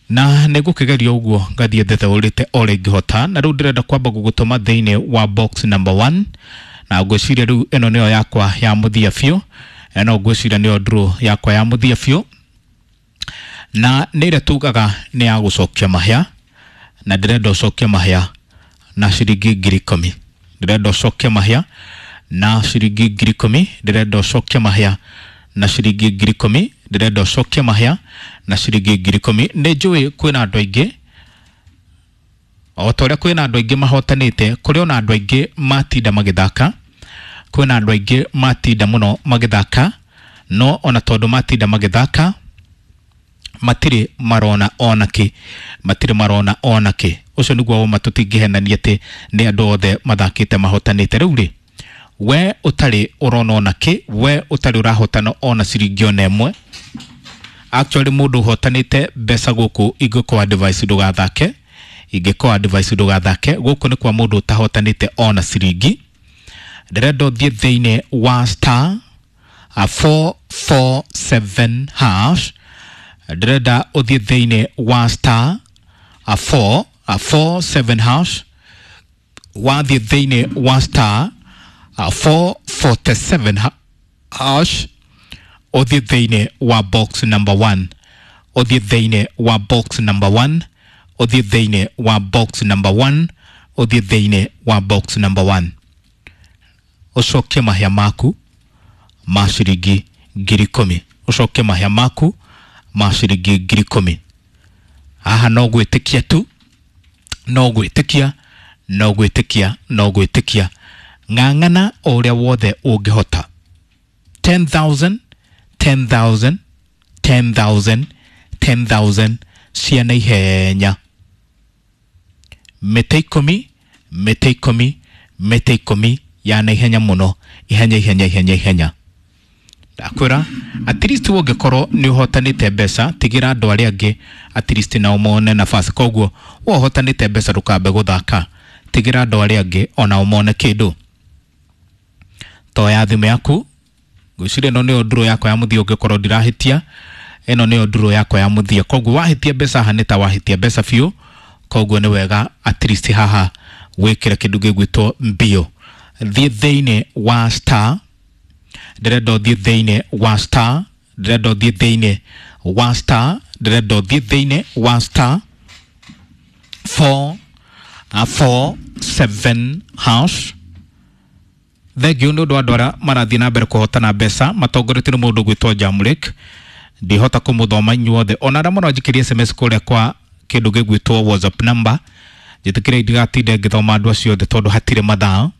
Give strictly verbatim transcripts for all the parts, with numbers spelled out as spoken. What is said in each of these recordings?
Na nĩ ngũkĩgeria ũguo ngathiĩ thetheũrĩte o ũrĩa ingĩhota. Na rĩu ndĩrenda kwamba gũgũtũma thĩinĩ wa box number one, na ngwĩciria rĩu ĩno nĩyo yakwa ya mũthia biũ. Ĩno ngwĩciria nĩyo draw yakwa ya mũthia biũ, na nĩ ĩrĩa tugaga nĩ ya gũcokia mahĩa, na ndĩrenda ũcokie mahĩa na ciringi ngiri ikũmi. Ndĩrenda ũcokie mahĩa na ciringi ngiri ikũmi. Ndĩrenda ũcokie mahĩa na ciringi ngiri ikũmi. Ndĩrenda ũcokie mahĩa na ciringi ngiri ikũmi. Nĩ njũĩ kwĩna andũ aingĩ, o ta ũrĩa kwĩna andũ aingĩ mahotanĩte, kũrĩ ona andũ aingĩ matinda magĩthaka. Kwĩna andũ aingĩ matinda mũno magĩthaka, no ona tondũ matinda magĩthaka matirĩ marona ona kĩ, matirĩ marona ona kĩ. Ũcio nĩguo woma, tũtingĩhenania atĩ nĩ andũ othe mathakĩte mahotanĩte. Rĩu rĩ, we ũtarĩ ũrona ona kĩ, we ũtarĩ ũrahotana ona ciringi ona ĩmwe, actually mũndũ ũhotanĩte mbeca gũkũ ingĩkũ advice ndũgathake, ingĩkũ advice ndũgathake. Gũkũ nĩ kwa mũndũ ũtahotanĩte ona ciringi. Ndĩrenda ũthiĩ thĩinĩ wa star four four seven hash. Ndĩrenda ũthiĩ thĩinĩ wa star four four seven hash. Wathiĩ thĩinĩ wa star four forty seven hash, ũthiĩ thĩinĩ wa box number one, ũthiĩ thĩinĩ wa box number one, ũthiĩ thĩinĩ wa box number one, ũthiĩ thĩinĩ wa box number one, ũcokie mahĩa maku ma ciringi ngiri ikũmi. Ũcokie mahĩa maku ma ciringi ngiri ikũmi. Haha no gwĩtĩkia tu, no gwĩtĩkia, no gwĩtĩkia, no gwĩtĩkia. Ng'ang'ana o ũrĩa wothe ũngĩhota. ten thousand, ten thousand, ten thousand, ten thousand cia na ihenya. Mĩtĩ ikũmi, mĩtĩ ikũmi, mĩtĩ ikũmi ya na ihenya mũno, ihenya ihenya ihenya ihenya. Ndakwĩra at least ũngĩkorwo nĩ ũhotanĩte mbeca, tigĩra andũ arĩa angĩ at least nao mone nafasi. Koguo we ũhotanĩte mbeca ndũkambe gũthaka, tigĩra andũ arĩa angĩ onao mone kĩndũ. Toya thimũ yaku, ngwĩciria ĩno nĩyo nduro yakwa ya mũthia, ũngĩkorwo ndirahĩtia, ĩno nĩyo nduro yakwa ya mũthia. Koguo wahĩtia mbeca haha nĩ ta wahĩtia mbeca biũ. Koguo nĩ wega at least haha wĩkĩre kĩndũ gĩgwĩtwo mbio. Thiĩ thĩinĩ wa star, ndĩrenda ũthiĩ thĩinĩ wa star, ndĩrenda ũthiĩ thĩinĩ wa star, ndĩrenda ũthiĩ thĩinĩ wa star four four seven hash. Thengiũ nĩ ũndũ wa andũ arĩa marathiĩ na mbere kũhotana mbeca matongoretio nĩ mũndũ ũgwĩtwo Jamrick. Ndihota kũmũthoma inyuothe, ona arĩa mũranjikĩria S M S kũrĩa kwa kĩndũ gĩgwĩtwo WhatsApp number, njĩtĩkĩre ndigatinde ngĩthoma andũ acio othe tondũ hatirĩ mathaa.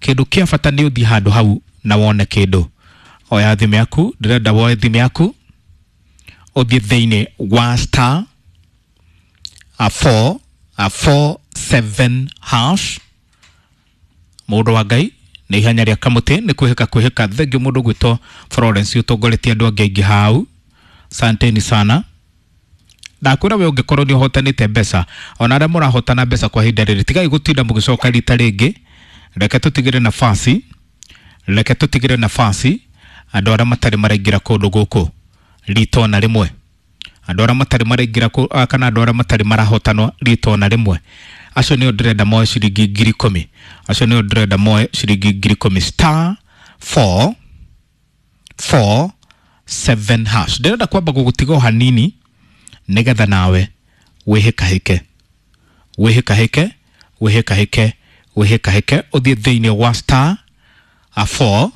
Kĩndũ kĩa bata nĩ ũthiĩ handũ hau na wone kĩndũ. Oya thimũ yaku, ndĩrenda woe thimũ yaku, ũthiĩ thĩinĩ wa star four four seven hash. Mũndũ wa Ngai, nĩ ihenya rĩa kamũtĩ, nĩ kwĩhĩka kwĩhĩka. Thengiũ mũndũ ũgwĩtwo Florence ũtongoretie andũ angĩ aingĩ hau, santeni sana. Ndakwĩra we ũngĩkorwo nĩ ũhotanĩte mbeca, ona arĩa mũrahotana mbeca kwa ihinda rĩrĩ, tigai gũtinda mũgĩcoka rita rĩngĩ. Reke tũtigĩre nafasi, reke tũtigĩre nafasi andũ arĩa matarĩ maraingĩra kũndũ gũkũ rita ona rĩmwe, andũ arĩa matarĩ maraingĩra kana andũ arĩa matarĩ marahotanwo rita ona rĩmwe. Acio nĩo ndĩrenda moe ciringi ngiri ikũmi, acio nĩo ndĩrenda moe ciringi ngiri ikũmi. Star four four seven hash. Ndĩrenda kwamba gũgũtiga o hanini nĩgetha nawe wĩhĩkahĩke, wĩhĩkahĩke, wĩhĩkahĩke, wĩhĩkahĩke, ũthiĩ thĩinĩ wa star four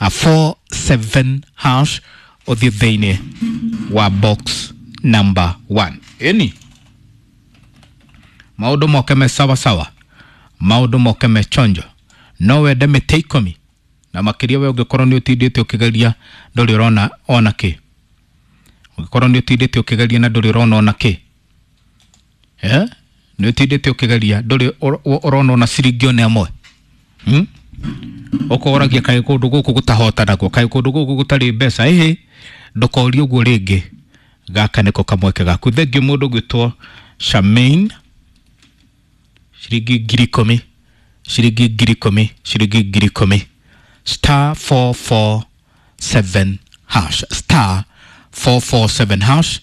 four seven hash, ũthiĩ thĩinĩ wa box number one. Ĩni maũndũ moke me sawa sawa, maũndũ moke me chonjo. No wende mĩtĩ ikũmi na makĩria, we ũngĩkorwo nĩ ũtindĩte ũkĩgeria ndũrĩ ũrona ona kĩ, ũngĩkorwo nĩ ũtindĩte ũkĩgeria na ndũrĩ ũrona ona kĩ, eh nĩ ũtindĩte ũkĩgeria ndũrĩ ũrona ona ciringi ona ĩmwe, hmm? Ũkoragia kaĩ kũndũ gũkũ gũtahotanagwo, kaĩ kũndũ gũkũ gũtarĩ mbeca. Ĩhĩ, ndũkorie ũguo rĩngĩ, gaka nĩko kamweke gaku. Thengiũ mũndũ ũgwĩtwo Charmaine, ciringi ngiri ikũmi, ciringi ngiri ikũmi, ciringi ngiri ikũmi. Star four four seven hash, star four four seven hash.